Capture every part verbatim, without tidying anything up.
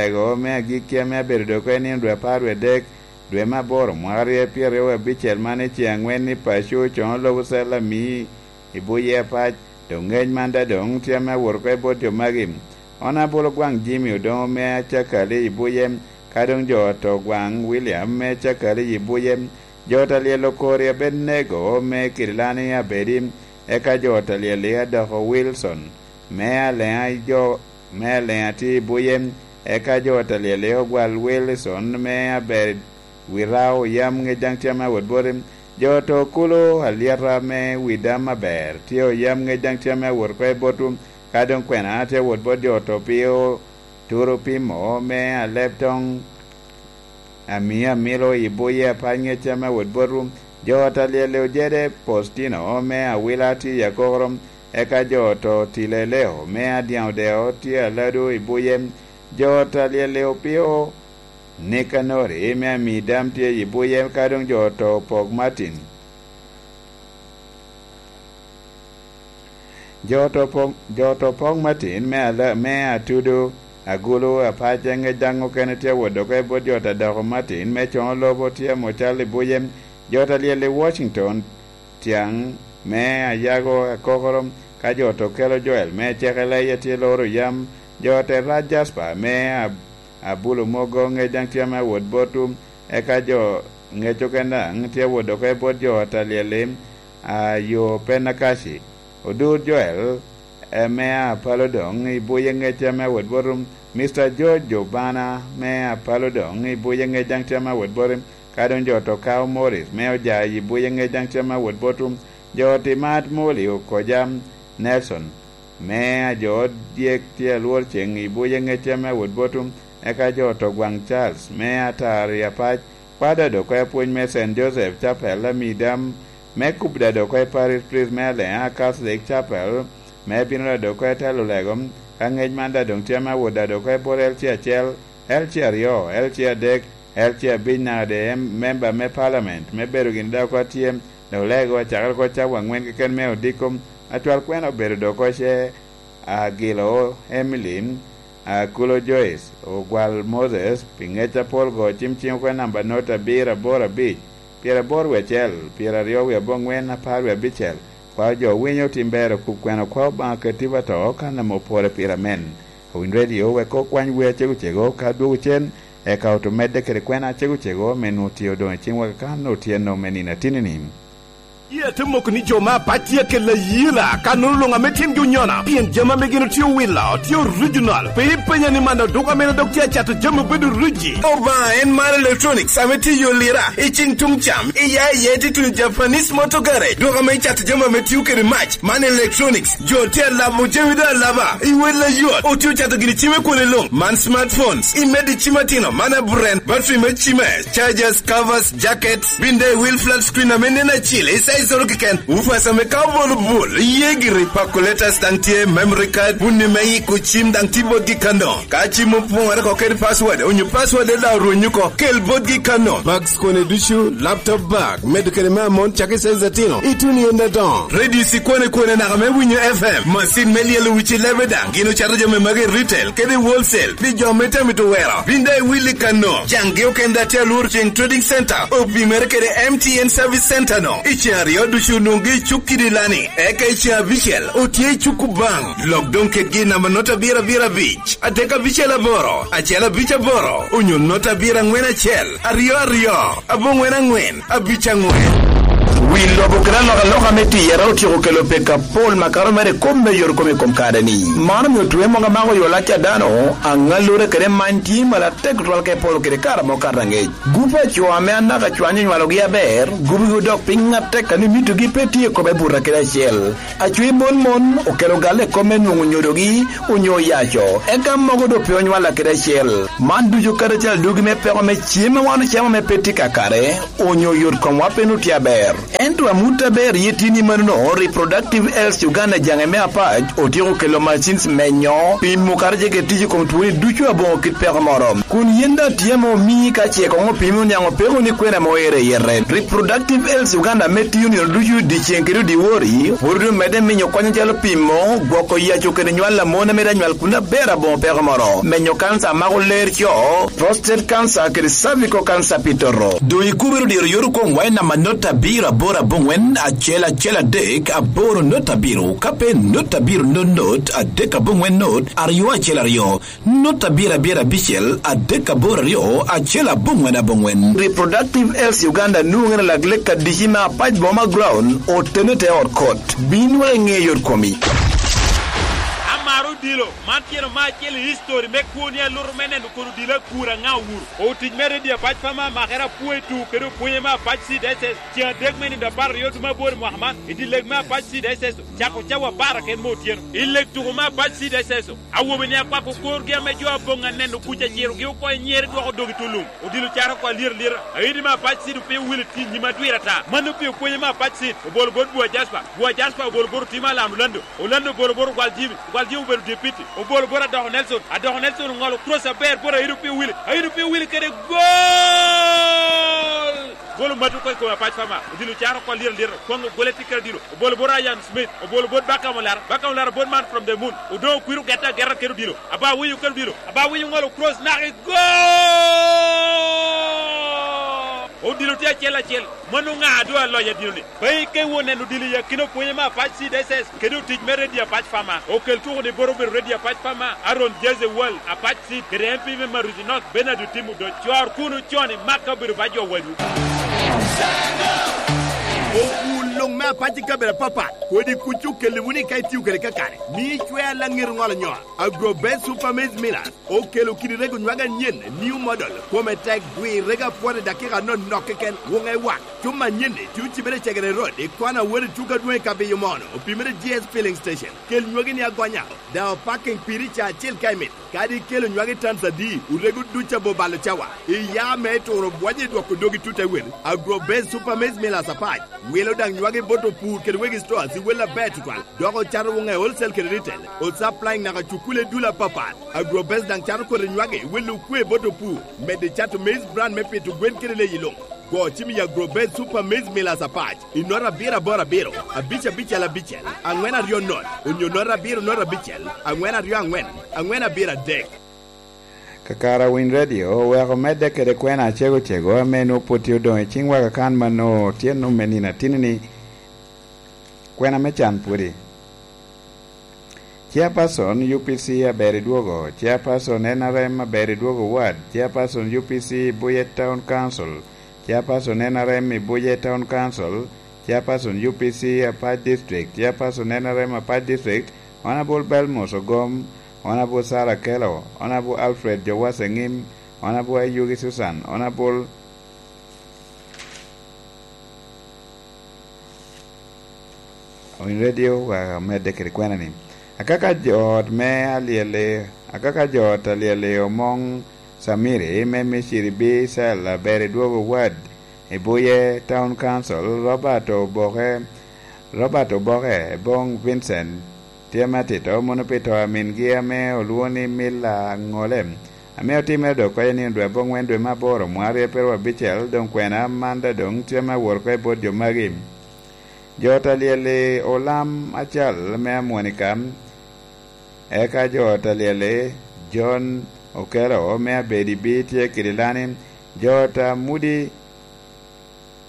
Ego me agikki ame abedo doge i nino dwe apar wie dek, dwe me aboro, mwaka rye pyeraryo wie abicel, man i ceŋ aŋwen i paco, coŋo lobo cel ami i buye apac. Doŋ ŋec man daŋ doŋ tye ame awot oko i bot jo magi. Onabolo gwaŋ Jimmy Odongo me Acakali i buye, ka doŋ jo oto gwaŋ William me Acakali i buye. Jo ta lyel okori Abednego me Kirilani Abedi, eka jo ta lyel i adoko Wilson me Aleŋa i jo me Aleŋa tye i buye, eka jo ta lyel i ogwal Wilson me Aber Wirao yam ŋec daŋ tye ame awot boti. Jo to kulo alyeta me wi dam aber tye oyam ŋec daŋ tye ame awot oko i botwu, ka doŋ kwena tye awot bot jo to pio turo pimo me aleb toŋ ami amilo i buye apac ŋec tye ame awot botwu. Jo ta lyel i ojede Postino me Awila tye i akokoro, eka jo to tile Leo me Adyaŋ Odeo tye alado i buye. Jo ta lyel i opio Nikanori me ami dam tye i buye, ka doŋ jo oto opok Martin. Jo oto opok, jo oto opok Martin me ala-, me Atudo, Agulu, Apac, ŋec daŋ okene tye awot doge bot jo ta doko Martin me coŋo lobo tye amo cal i buye. Jo ta lyel i Washington, Tyaŋ me Ayago Akokoro, ka jo oto kelo Joel me Cekeleya tye loro yam. Jo te rac Jasper me Ab-, Abulo Mogo ŋec daŋ tye ame awot botwu, eka jo ŋec okene daŋ tye awot doge bot jo ta lyel i, a, yo Penakaci. Odur Joel, e, me Apalo doŋ i buye ŋec tye ame awot botwu. Mister George Obana me Apalo doŋ i buye ŋec daŋ tye ame awot botwu. Ka doŋ jo to kao Morris me Ojayi i buye ŋec daŋ tye ame awot botwu. Jo ti mat Moli Okoja Nelson me ajo dyek tye alwor ceŋ i buye ŋec tye ame awot botwu. Eka jo to gwaŋ Charles me Atar i Apac, kwada doŋ oko i apwony me Saint Joseph Chapel, Amidam me kubda doŋ oko i Parish Priest me Aleŋa Catholic Chapel, me bino da doŋ oko i telo lego, ka ŋec man da doŋ tye ame awot da doŋ oko i bot L C acel, L C aryo, L C adek, L C abic naka de em-, member me parliament, me bedo gini da oko atye, doŋ lego acakere oko cawa aŋwen keken me odiko, acwal kwena obedo doŋ oko ce, Agilo Emily, Akulo Joyce, Ogwal Moses, pi ŋec apol go, cim ciŋ okwe namba not abiro aboro abic, pyeraboro wie acel, pyeraryo wie aboŋwen, apar wie abicel. Kwao jo winyo tim ber, okup kwena kwao Obaŋa keti ba to, kan ame opore pire amen. Owiny redio wek okwany wer acego cego ka dwogo cen, eka oto medde kede kwena acego cego me nwoŋo tye odoŋ i ciŋwa kan otyeno me nino atinni-ni. Yie ate moko ni jo me Apac tye akella yela, ka nono luŋ ame tyengi onyona, pien jami ame gin otye owilo tye original. Pe ipenya ni man oduk ame dok tye acato jami obedo riji. Obaŋa en mar electronics ame tye i yo lira, i ciŋ tuŋ cam, i ya i ye tye tuno Japanese Motor Garage. Dok ame icato jami ame tio kede mac, man electronics. Jo tye alabo jami do alaba, i wel ayot. Otye ocato gini cime kwone luŋ, man smartphones, i medo i cim atino, man aburen, battery me cime, chargers, covers, jackets, bin de wheel flat screen ame nen acil, i size oro keken, woofers ame ka obolo bul, iye giri, calculators daŋ tye, memory card, bunni me yiko cim daŋ tye botgi kano. Ka cim opwoŋore oko kede password, onyo password daŋ orwenyo oko, kel botgi kano. Bags kone ducu, laptop bag, medo kede me amon cak i size atino, ituno i ende adoŋo. Radio ci kwane kwane naka me winyo F M, macin me lyelo wici lebe daŋ, gin ocato jami magi i retail kede i wholesale, pi jo me tamito wero. Bin daŋ iwilli kano, caŋgi okende atye alworo ceŋ Trading Center, opimere kede M T N Service Center no. I ceŋ aryo ducu onwoŋgi i cuk kidi lani, eka i ceŋ abicel otye i cuk Kubaŋ. Lok doŋ kedgi i namba not abiro abiro abic, adek abicel aboro, acel abic aboro, onyo not abiro aŋwen acel, aryo aryo, aboŋwen aŋwen, abic aŋwen. Wi lobo kede alokaloka me tiyere otyeko kelo peko apol makato mere i kop me yot kom i kom kare-ni. Man omio twe mogo amako yo lac a dano, aŋallure kede many tye malatek tutwal ka ipolo kede kare amo kato aŋec. Gup a co ame anaka cwany onywalogi aber, gubogi odok piny atek, a ni mitogi pe tye i kome buta kede acel. Acwi mon mon okelo galle i kop me nwoŋo nyodogi onyo oyaco, eka mogo doŋ pe onywalla kede acel. Man ducu karacel adugi me peko me cem a wan ocamo ame pe tye kakare, onyo yot komwa pe nwoŋo tye aber. Ento amut aber ye tye ni manono, Reproductive Health Uganda jaŋe me apac otyeko kelo machines menyo pimo kara jege tic i kom twoni ducu aboŋo kit peko moro. Kun yen daŋ tye ame omii ka ce koŋ opimo niaŋ opeko ni kwena mo ere yete. Reproductive Health Uganda ame tiyo nino ducu dyeceŋ kede dyewor, pwod omedde minyo kony acalo pimo, gwoko yaco kede nywal a mon ame daŋ nywal kun aber aboŋo peko moro, menyo kanca a mako ler co, prostate cancer kede cervical cancer pi toto. Doŋ ikubiro diro yot okwoŋ wac namba not abiro aboro aboŋwen acel acel adek aboro not abiro, ka pe not abiro not not adek aboŋwen not aryo acel aryo, not abiro abiro abicel adek aboro aryo acel aboŋwen aboŋwen. Reproductive Health Uganda nwoŋere lak lek adici me apac boma ground otene te ot kot. Bin wek iŋe yot komi. Amaro odilo, man tyen me acel i history me kwoni aluto me neno kono odilo akura ŋa owuro. Otic me redio apac pa me amakere apwoyo i tuko kede opwonye me apac C D S S. Ceŋ adek me nino apar aryo dwe me aboro i mwaka man, i dye leg me apac C D S S, cako cawa apar aken me otyeno. I leg tuko me apac C D S S, awobe ni akwako korgi ame jo aboŋ aneno kuc aciro gi oko i nyere dwoko dog i tulum. Odilo caro oko alyet alyeta. Aidi me apac C D opio wil i nyim adwir ata. Mano pio pwonye me apac C D. Obolo bot Bua Jasper. Bua Jasper obolo bot Otima Alam Orlando. Orlando obolo bot Ogwal Jimmy. Ogwal Jimmy obedo deputy. Obolo bot Adoko Nelson. Adoko Nelson oŋolo cross aber bot Aidi opio wil. Aidi opio wil kede gol! Gol omati oko i kom apac pa ma. Odilo caro oko alyet alyeta. Kwaŋ ogole tikkere odilo. Obolo bot Ryan Smith. Obolo bot Bakam Olara. Bakam Olara bot man from the moon. Odoŋo okwiro gete ageta kede odilo. Aba winyo kede odilo. Aba winyo ŋolo cross naka i gol! Odilo tye acel acel. Mano ŋa a doŋ aloyo adino-ni? Pe ikeŋ won neno odilo i akina opwonye me apac C D S S kede otic me redio apac pa ma. Okel tuko ni bot obedo redio apac pa ma, Aaron Jeze Wal, apac C D, kede M P me Maruzi North, Bernard Otim Odoc. Cor kuno con i Maka obedo ba jo wadwu. Okul luŋ me apac i kabedo apapat, kodi kuc okelli wunu ka itio kede kakare. Mi icwer laŋet oŋolo nyol. Agro Best Super Maize Millers okelo kidi rego nywag anyen, new model, kome tek, dwi rego apwot i dakika anonok keken, wuŋe wak. Cuma anyen-ni tye ocibere i Cegere Road, i kona wot i tuko adwoŋ i Kabiyo Mono, opimere G S Filling Station. Kel nywagi ni agonya, daŋ opaking piri ca acel ka imito. Kadi ikelo nywagi tans adi, orego duc abo balo cawa. Iya me turo bwonyo i dwoko dogi tut ewel. Agro Base Super Maize Millers apac wilo daŋ nywagi bot opur kede wegi stores i wel aber tutwal, dok ocato wuŋe wholesale kede retail, o supplying naka cukule dul apapat. Agro Base daŋ cato kodi nywagi wilo okwe bot opur, medde cato maize bran me pito gwen kede leyi luŋ. Go cim i Agro Base Super Maize Millers apac i nota abiro aboro abiro, abic abicel abicel, aŋwen aryo not, onyo nota abiro nota abicel, aŋwen aryo aŋwen, aŋwen abiro adek. Kakare Winy Radio oweko medde kede kwena acego cego ame nwoŋo pwod tye odoŋ i ciŋwa kakan mano otyeno me nino atini-ni. Kwena me can pwodi. Chairperson U P C aber i dwogo, Chairperson N R M aber i dwogo ward, Chairperson U P C Buye Town Council, Chairperson N R M i Buye Town Council, Chairperson U P C Apac District, Chairperson N R M Apac District, Honourable Belmos Ogom, Honourable Sarah Kelo, Honourable Alfred Jowase Ngim, Honourable Ayugi Susan, Honourable Owiny Radio wa medde kede kwena ni, akaka jo ot me alyel-li, akaka jo ot alyel-li Omoŋ Samiri me Miciri B Cell aber i dwogo ward i Buye Town Council, Robert Oboke, Robert Oboke, Boŋ Vincent, tye me atito mono pi to a mingi ame olwoŋo ni Mila Aŋole, ame otimere dok oko i nino dwe aboŋwen dwe me aboro mwaka aryo pyeraryo abicel, doŋ kwena man daŋ doŋ tye me awot oko i bot jo magi. Jo ot alyel-li Olam Acal me Amwonika, eka jo ot alyel-li John Okelo me Abedi B tye kede lani, jo ot a Mudi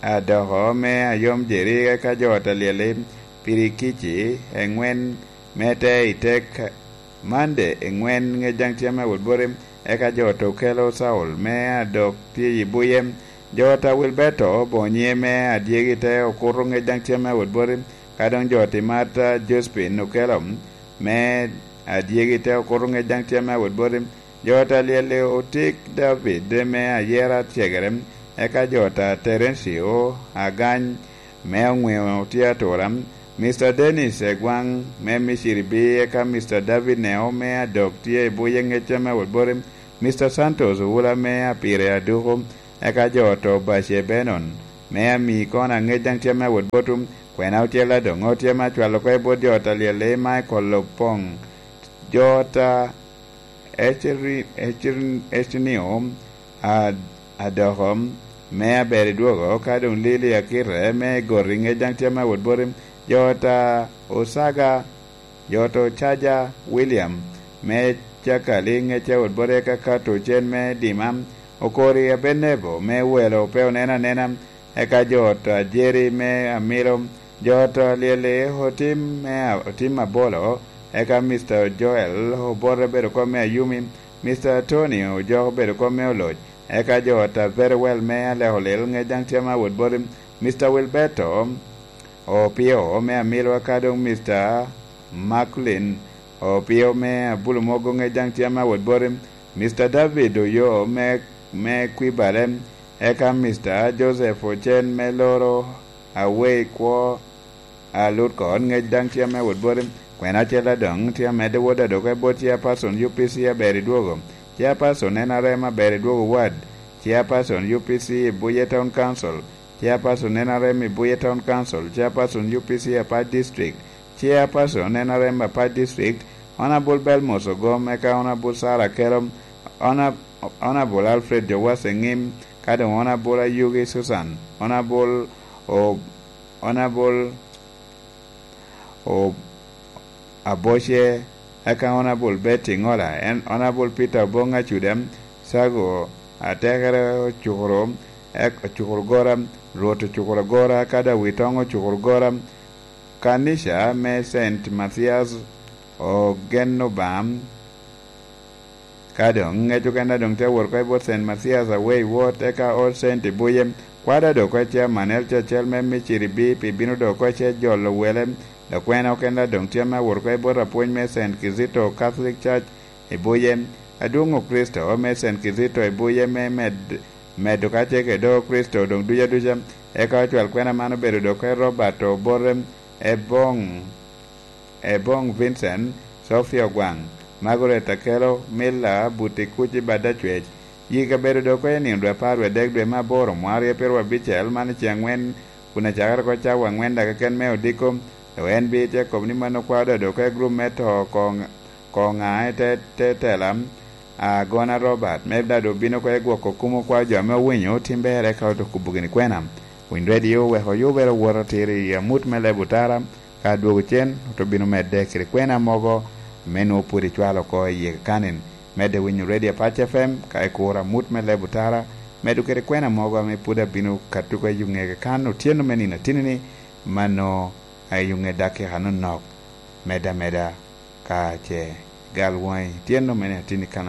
Adoko me Ayom Jeri, eka jo ot alyel-li Pirikici eŋwen me te i tek Mande eŋwen ŋec daŋ tye me awot boti, eka jo ot Okelo Saul me Adok tye i Buye, jo ot a Wilberto Bonye me Adyegi te okuto ŋec daŋ tye me awot boti, ka doŋ jo ot i Marta Josephine Okelo me Adyegi te okuto ŋec daŋ tye me awot boti, jo ot alyel-li Otik David me Ayera Cegere, eka jo ot a Terencio Agany me Oŋweo tye atura, Mister Dennis Egwaŋ me Miciri B, eka Mister David Neo me Adok tye i Buye ŋec tye me awot boti, Mister Santos Owula me Apire Aduku, eka jo ot Obace Benon, me ami kono aŋec daŋ tye me awot bot wun. Kwena ocel adoŋo tye me acwalo oko i bot jo ot a lyel i Michael Opong, jo ot a Eceri-, Eceri-, Ecenio a-, adoko me aber i dwogo, ka doŋ Lili Akite me Gori ŋec daŋ tye me awot boti, jo ot a Osaga, jo ot Ocaja William me Cakali ŋec awot boti, eka Kato Ocen me Dima, Okori Abenebo me Welo pe onen anena, eka jo ot Ajeri me Amilo, jo ot Lyeli Otim me A-, Otim Abolo, eka Mister Joel Obote bedo kom me Ayumi, Mister Tony Ojok bedo kom me Oloc, eka jo ot a Very Well me Aleko Lil ŋec daŋ tye me awot boti, Mister Wilberto Opio me Amilo, eka doŋ Mister Macklin Opio me Abulu Mogo ŋec daŋ tye me awot boti, Mister David Oyo me, me Kwibale, eka Mister Joseph Ocen me Loro Awei Kwo, a Lut Koot ŋec daŋ tye me awot boti. Kwena acel adoŋ tye amedde wot adoke bot Chairperson U P C aber i dwogo, Chairperson N R M aber i dwogo ward, Chairperson U P C i Buye Town Council, Chairperson N R M i Buye Town Council, Chairperson U P C Apac District, Chairperson N R M Apac District, Honorable Belmos Ogom, eka Honorable Sarah Kelom, Hona-, Honorable Alfred Jowase Ŋim, ka doŋ Honorable Ayugi Susan, Honorable O-, Honorable O-, Aboce, eka Honorable Betty Ŋola, en Honorable Peter Obong Acuda, Sago Atekere Ocukuru, ek-, Ocukuru Gora, Rwot Ocukuru Gora, eka Dawitoŋ Ocukuru Gora, Kanica me Saint Mathias Ogen Obaŋa, ka doŋ ŋec okene doŋ tye awot oko i bot Saint Mathias Away Ward, eka Old Saint i Buye. Kwada doŋ oko i Chairman L C acel me Miciri B P bino doŋ oko i Cec Jolo Wele, dok kwena okene doŋ tye me awot oko i bot apwony me Saint Kizito Catholic Church i Buye. Adwoŋ Okricito me Saint Kizito i Buye me med-, medo ka tye kede Okricito doŋ duc aduca. Eka ocwal kwena man obedo doŋ oko i Robert Obote, Ebong, Ebong Vincent, Sophia Ogwaŋ, Margaret Akelo, Milla Buti Kuc i Badacwec. Yik abedo doŋ oko i nino dwe apar wie adek dwe me aboro, mwaka aryo pyeraryo abicel, man i ceŋ aŋwen, kun acakere oko cawa aŋwen daga keken me odiko. Dok en bi tye kobo ni mano kwao doŋ oko i gurup me to koŋ-, koŋa i te, te tela, Agona Robert, me daŋ doŋ bino oko i gwoko kumo kwao jo ame owinyo tim ber, eka oto kubo gini kwena. Winy Radio weko yubere owoto tiro i amut me leb otara, ka adwogo cen, oto bino medde kede kwena mogo ame nwoŋo pwod icwalo oko i yie kanin. Medde winyo Radio Apac F M, ka ikuro amut me leb otara, medo kede kwena mogo ame pwod abino kato oko i ŋe kan otyeno me nino atini-ni, mano a i ŋe dakika nonok, medde ameda ka ce gal woŋi otyeno me nino atini kan